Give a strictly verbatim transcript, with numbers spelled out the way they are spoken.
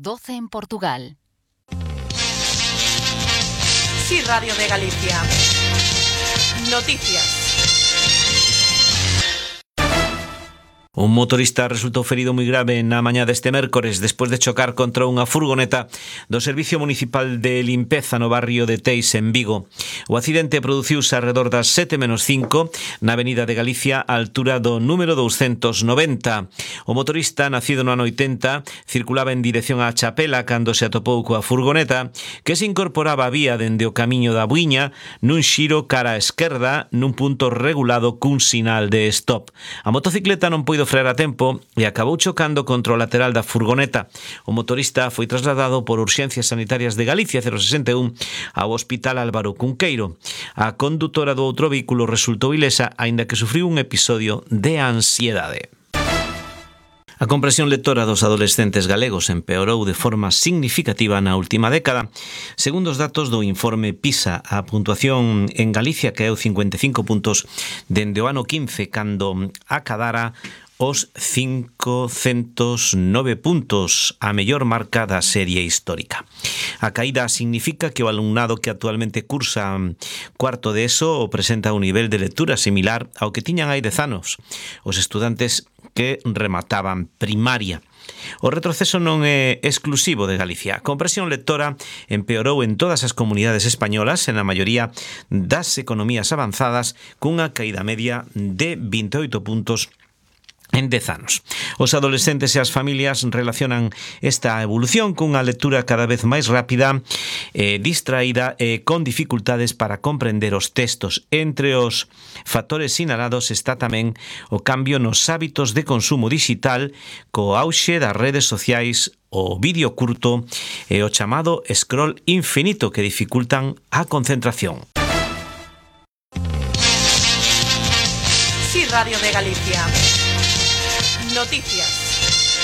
doce en Portugal. Sí, Radio de Galicia. Noticias. Un motorista resultou ferido moi grave na mañá deste mércores despois de chocar contra unha furgoneta do Servicio Municipal de Limpeza no barrio de Teis, en Vigo. O accidente produciuse arredor das sete menos cinco na Avenida de Galicia, á altura do número douscentos noventa. O motorista, nacido no ano oitenta, circulaba en dirección á Chapela cando se atopou coa furgoneta, que se incorporaba a vía dende o camiño da Buiña nun xiro cara á esquerda nun punto regulado cun sinal de stop. A motocicleta non poido frear a tempo e acabou chocando contra o lateral da furgoneta. O motorista foi trasladado por Urxencias Sanitarias de Galicia cero sesenta e un ao Hospital Álvaro Cunqueiro. A condutora do outro vehículo resultou ilesa, aínda que sufriu un episodio de ansiedade. A comprensión lectora dos adolescentes galegos empeorou de forma significativa na última década. Segundo os datos do informe PISA, a puntuación en Galicia caeu cincuenta e cinco puntos dende o ano quince, cando acadara os cincocentos nove puntos, a mellor marca da serie histórica. A caída significa que o alumnado que actualmente cursa cuarto de ESO presenta un nivel de lectura similar ao que tiñan hai dez anos os estudantes que remataban primaria. O retroceso non é exclusivo de Galicia. A comprensión lectora empeorou en todas as comunidades españolas, en a maioría das economías avanzadas, cunha caída media de vinte e oito puntos en dez anos. Os adolescentes e as familias relacionan esta evolución cunha lectura cada vez máis rápida, eh, distraída e con dificultades para comprender os textos. Entre os factores sinalados está tamén o cambio nos hábitos de consumo digital, co auxe das redes sociais, o vídeo curto e o chamado scroll infinito que dificultan a concentración. Sí, Radio de Galicia. Noticias.